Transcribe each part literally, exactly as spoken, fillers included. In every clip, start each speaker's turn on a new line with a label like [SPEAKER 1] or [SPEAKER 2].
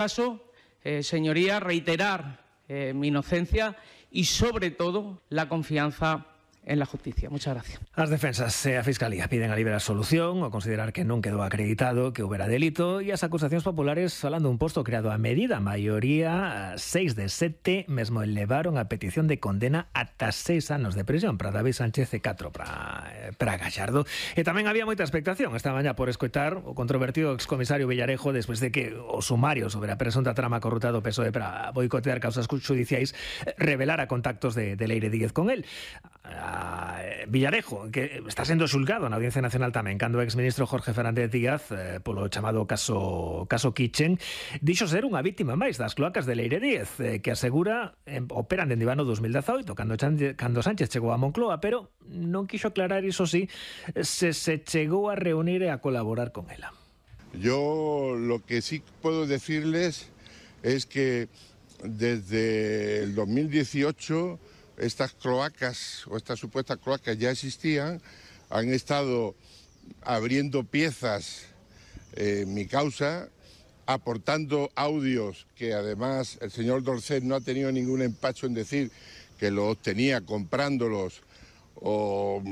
[SPEAKER 1] caso, eh, señorías, reiterar eh, mi inocencia y, sobre todo, la confianza en la justicia. Muchas gracias.
[SPEAKER 2] As defensas e a Fiscalía piden a libre absolución ao considerar que non quedou acreditado que houbera delito, e as acusacións populares falando un posto creado a medida. A maioría, seis de sete, mesmo elevaron a petición de condena ata seis anos de prisión para David Sánchez e catro para, para Gallardo. E tamén había moita expectación esta mañá por escoitar o controvertido excomisario Villarejo despois de que o sumario sobre a presunta trama corrupta do P S O E para boicotear causas judiciais revelara contactos de, de Leire Díez con él. A Villarejo, que está sendo xulgado na Audiencia Nacional tamén, cando o exministro Jorge Fernández Díaz, eh, polo chamado caso caso Kitchen, dixo ser unha vítima máis das cloacas de Leire Díez, eh, que asegura eh, operan dende o ano dos mil dezaoito, cando, cando Sánchez chegou a Moncloa, pero non quixo aclarar, iso sí, se se chegou a reunir e a colaborar con ela.
[SPEAKER 3] Yo lo que sí puedo decirles es que desde el dos mil dieciocho estas cloacas o estas supuestas cloacas ya existían, han estado abriendo piezas en mi causa, aportando audios que además el señor Dorset no ha tenido ningún empacho en decir que los obtenía comprándolos o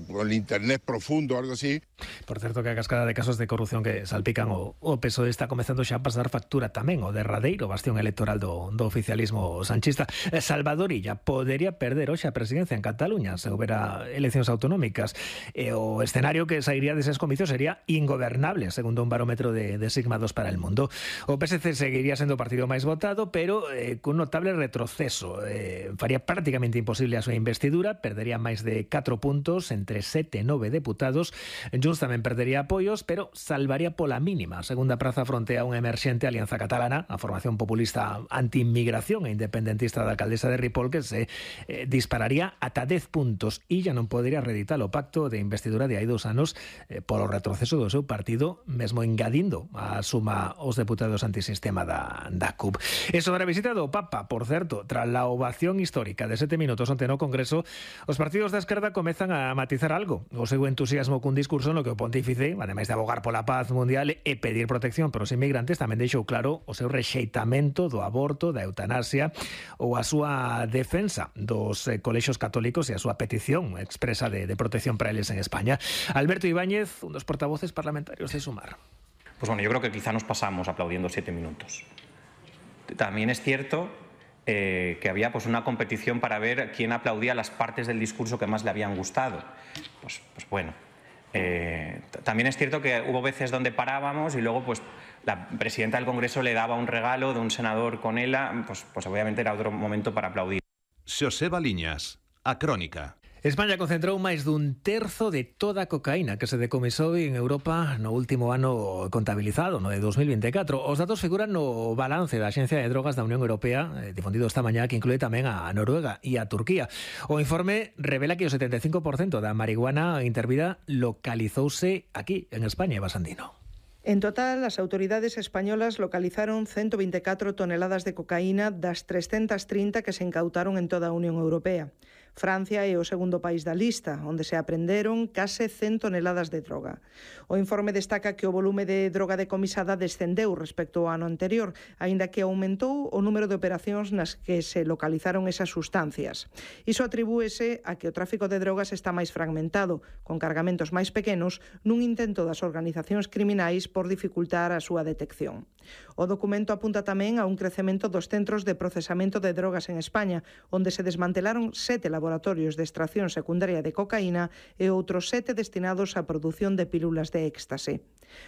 [SPEAKER 3] con el internet profundo, algo así.
[SPEAKER 2] Por certo, que a cascada de casos de corrupción que salpican o, o P S O E está comezando xa a pasar factura tamén o derradeiro bastión electoral do, do oficialismo sanchista. Salvador Illa podería perder hoxe a presidencia en Cataluña se houbera eleccións autonómicas, e o escenario que sairía deses comicios sería ingobernable, segundo un barómetro de, de Sigma dos para el Mundo. O P S C seguiría sendo o partido máis votado, pero eh, cun notable retroceso. Eh, faría prácticamente imposible a súa investidura, perdería máis de catro puntos entre sete e nove deputados. Junts tamén perdería apoios, pero salvaría pola mínima a segunda praza fronte a unha emerxente Alianza Catalana, a formación populista anti-inmigración e independentista da alcaldesa de Ripoll, que se eh, dispararía ata dez puntos e ya non podería reeditar o pacto de investidura de hai dous anos eh, polo retroceso do seu partido, mesmo engadindo a suma os deputados antisistema da, da C U P. E sobre a visita do Papa, por certo, tras la ovación histórica de sete minutos onte no Congreso, os partidos da esquerda comezan a matizar algo o seu entusiasmo cun discurso no que o pontífice, ademais de abogar pola paz mundial e pedir protección para os inmigrantes, tamén deixou claro o seu rexeitamento do aborto, da eutanasia ou a súa defensa dos eh, colexios católicos e a súa petición expresa de, de protección para eles en España. Alberto Ibáñez, un dos portavoces parlamentarios de Sumar.
[SPEAKER 4] Pues bueno, yo creo que quizá nos pasamos aplaudiendo siete minutos. También es cierto Eh, que había pues una competición para ver quién aplaudía las partes del discurso que más le habían gustado. Pues, pues bueno, eh, también es cierto que hubo veces donde parábamos y luego pues la presidenta del Congreso le daba un regalo de un senador con ela, pues, pues obviamente era otro momento para aplaudir.
[SPEAKER 5] Xoseba Liñas, a Crónica.
[SPEAKER 2] España concentrou máis dun terzo de toda a cocaína que se decomisou en Europa no último ano contabilizado, no de dos mil veinticuatro. Os datos figuran no balance da Axencia de Drogas da Unión Europea, eh, difundido esta mañá, que inclúe tamén a Noruega e a Turquía. O informe revela que o setenta e cinco por cento da marihuana intervida localizouse aquí, en España, Eva Sandino.
[SPEAKER 6] En total, as autoridades españolas localizaron ciento veinticuatro toneladas de cocaína das trescentas trinta que se incautaron en toda a Unión Europea. Francia é o segundo país da lista, onde se aprenderon case cen toneladas de droga. O informe destaca que o volume de droga decomisada descendeu respecto ao ano anterior, aínda que aumentou o número de operacións nas que se localizaron esas sustancias. Iso atribúese a que o tráfico de drogas está máis fragmentado, con cargamentos máis pequenos, nun intento das organizacións criminais por dificultar a súa detección. O documento apunta tamén a un crecemento dos centros de procesamento de drogas en España, onde se desmantelaron sete laboratorios de extracción secundaria de cocaína e outros sete destinados á produción de pílulas de éxtase.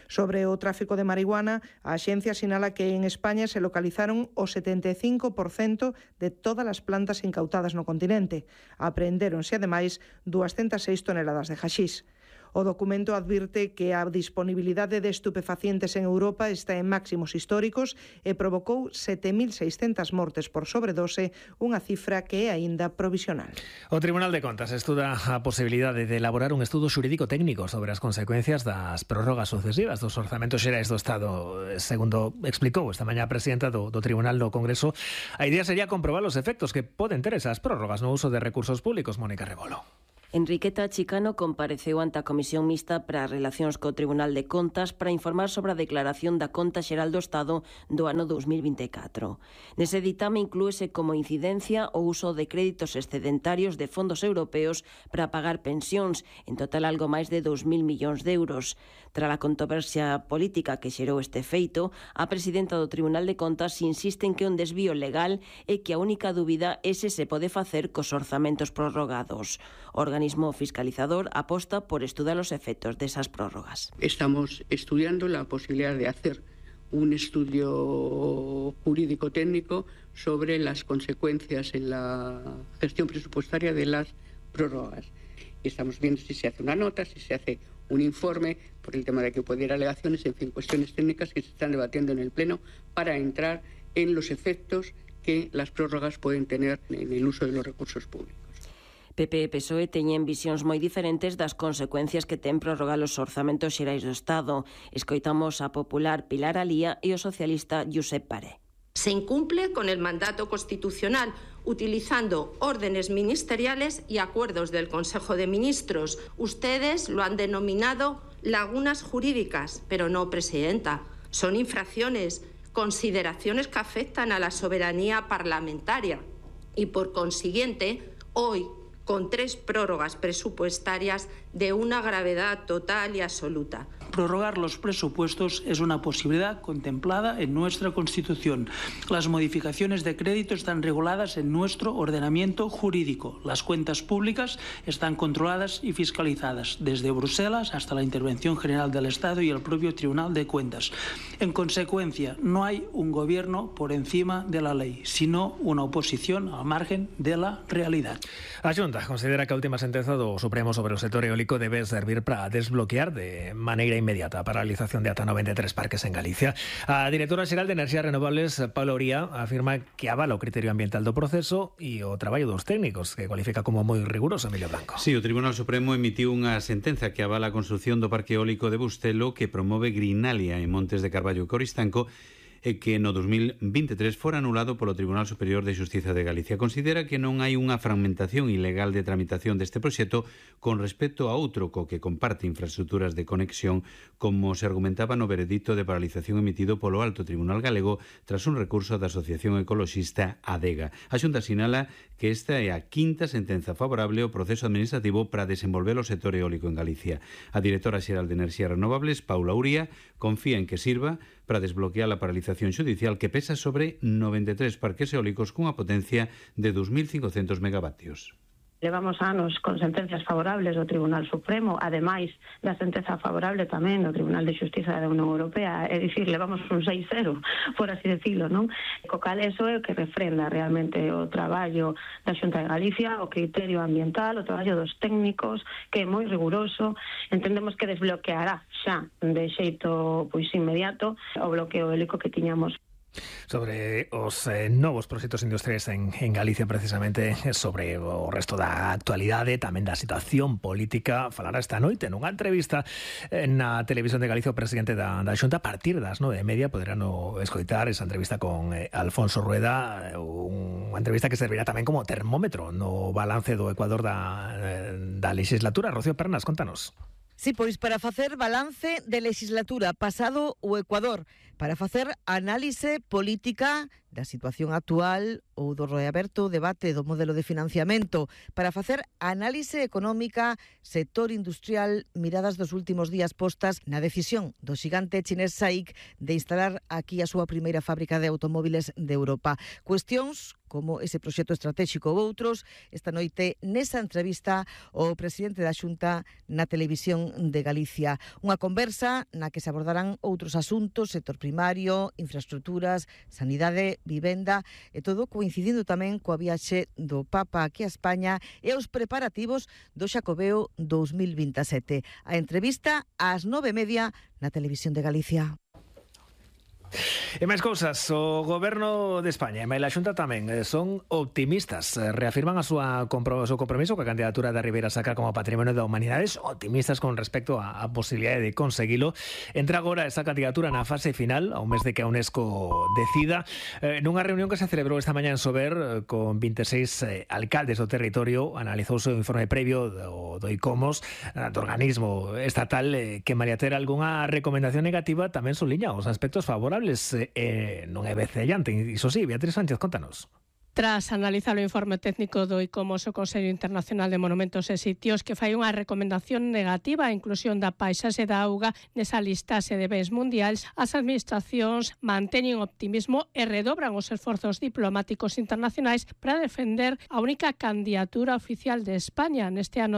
[SPEAKER 6] Sobre o tráfico de marihuana, a axencia sinala que en España se localizaron o setenta e cinco por cento de todas as plantas incautadas no continente. Apreendéronse, ademais, doscientas seis toneladas de haxís. O documento advirte que a disponibilidade de estupefacientes en Europa está en máximos históricos e provocou sete mil seiscentas mortes por sobredose, unha cifra que é aínda provisional.
[SPEAKER 2] O Tribunal de Contas estuda a posibilidade de elaborar un estudo xurídico técnico sobre as consecuencias das prórrogas sucesivas dos orzamentos xerais do Estado. Segundo explicou esta mañá a presidenta do, do Tribunal no Congreso, a idea sería comprobar os efectos que poden ter esas prórrogas no uso de recursos públicos. Mónica Rebolo.
[SPEAKER 7] Enriqueta Chicano compareceu ante a Comisión Mixta para as Relacións co Tribunal de Contas para informar sobre a declaración da Conta Xeral do Estado do ano dos mil vinte e catro. Nese ditame inclúese como incidencia o uso de créditos excedentarios de fondos europeos para pagar pensións, en total algo máis de dous mil millóns de euros. Tras a controversia política que xerou este feito, a presidenta do Tribunal de Contas insiste en que un desvío legal e que a única dúbida é se se pode facer cos orzamentos prorrogados. O organismo fiscalizador aposta por estudar os efectos desas prórrogas.
[SPEAKER 8] Estamos estudiando la posibilidad de hacer un estudio jurídico técnico sobre las consecuencias en la gestión presupuestaria de las prórrogas. Y estamos viendo si se hace una nota, si se hace un informe por el tema de que puede ir alegaciones, en fin, cuestiones técnicas que se están debatiendo en el Pleno para entrar en los efectos que las prórrogas pueden tener en el uso de los recursos públicos.
[SPEAKER 7] P P e P S O E teñen visións moi diferentes das consecuencias que ten prorrogar os orzamentos xerais do Estado. Escoitamos a popular Pilar Alía e o socialista Josep Paré.
[SPEAKER 9] Se incumple con el mandato constitucional utilizando órdenes ministeriales y acuerdos del Consejo de Ministros. Ustedes lo han denominado lagunas jurídicas, pero no, Presidenta. Son infracciones, consideraciones que afectan a la soberanía parlamentaria y, por consiguiente, hoy, con tres prórrogas presupuestarias de una gravedad total y absoluta.
[SPEAKER 10] Prorrogar los presupuestos es una posibilidad contemplada en nuestra Constitución. Las modificaciones de crédito están reguladas en nuestro ordenamiento jurídico. Las cuentas públicas están controladas y fiscalizadas, desde Bruselas hasta la Intervención General del Estado y el propio Tribunal de Cuentas. En consecuencia, no hay un gobierno por encima de la ley, sino una oposición al margen de la realidad.
[SPEAKER 2] A Xunta considera que a última sentenza do Supremo sobre o sector eólico debe servir para desbloquear de maneira inmediata a paralización de ata noventa e tres parques en Galicia. A directora xeral de Enerxías Renovables, Paula Uría, afirma que avala o criterio ambiental do proceso e o traballo dos técnicos, que cualifica como moi riguroso. Emilio Blanco.
[SPEAKER 11] Sí, o Tribunal Supremo emitiu unha sentenza que avala a construción do parque eólico de Bustelo, que promove Grinalia en Montes de Carballo e Coristanco, e que no dos mil vinte e tres fora anulado polo Tribunal Superior de Xustiza de Galicia. Considera que non hai unha fragmentación ilegal de tramitación deste proxecto con respecto a outro co que comparte infraestructuras de conexión, como se argumentaba no veredicto de paralización emitido polo Alto Tribunal Galego tras un recurso da Asociación Ecoloxista ADEGA. A Xunta sinala que esta é a quinta sentenza favorable ao proceso administrativo para desenvolver o sector eólico en Galicia. A directora xeral de Enerxías Renovables, Paula Uría, confía en que sirva para desbloquear a paralización xudicial que pesa sobre noventa e tres parques eólicos cunha potencia de dos mil cincocentos megavatios.
[SPEAKER 12] Levamos anos con sentencias favorables do Tribunal Supremo, ademais da sentenza favorable tamén do Tribunal de Xustiza da Unión Europea, é dicir, levamos un seis cero, por así decirlo, non? Co cal eso é o que refrenda realmente o traballo da Xunta de Galicia, o criterio ambiental, o traballo dos técnicos, que é moi riguroso. Entendemos que desbloqueará xa de xeito pois inmediato o bloqueo eólico que tiñamos.
[SPEAKER 2] Sobre os eh, novos proxectos industriais en, en Galicia, precisamente sobre o resto da actualidade, tamén da situación política, falará esta noite nunha entrevista na Televisión de Galicia o presidente da, da Xunta. A partir das nove e media poderán escoitar esa entrevista con eh, Alfonso Rueda, unha entrevista que servirá tamén como termómetro no balance do Ecuador da, da legislatura. Rocío Pernas, contanos.
[SPEAKER 13] Sí, pois para facer balance de legislatura pasado o Ecuador, para facer análise política da situación actual ou do reaberto debate do modelo de financiamento, para facer análise económica, sector industrial, miradas dos últimos días postas na decisión do xigante chinés SAIC de instalar aquí a súa primeira fábrica de automóviles de Europa. Cuestións como ese proxecto estratégico ou outros, esta noite nesa entrevista o presidente da Xunta na Televisión de Galicia. Unha conversa na que se abordarán outros asuntos, sector primario, infraestructuras, sanidade, vivenda e todo coincidindo tamén coa viaxe do Papa aquí a España e os preparativos do Xacobeo dos mil vinte e sete. A entrevista ás nove e media na Televisión de Galicia.
[SPEAKER 2] E máis cousas, o Goberno de España e a Xunta tamén son optimistas, reafirman a súa compro, o seu compromiso coa candidatura da Ribeira Sacra como Patrimonio da Humanidades, optimistas con respecto á, á posibilidade de conseguilo. Entra agora esa candidatura na fase final, ao mes de que a UNESCO decida, eh, nunha reunión que se celebrou esta mañá en Sober con vinte e seis eh, alcaldes do territorio. Analizouse o informe previo do, do ICOMOS, do organismo estatal, eh, que María Ter algunha recomendación negativa tamén suliña os aspectos favorables. Eh, non é vencellante, iso sí. Beatriz Sánchez, contanos.
[SPEAKER 14] Tras analizar o informe técnico do ICOMOS, o Consello Internacional de Monumentos e Sitios, que fai unha recomendación negativa á inclusión da paisaxe da auga nesa listaxe de bens mundiais, as administracións manteñen optimismo e redobran os esforzos diplomáticos internacionais para defender a única candidatura oficial de España neste ano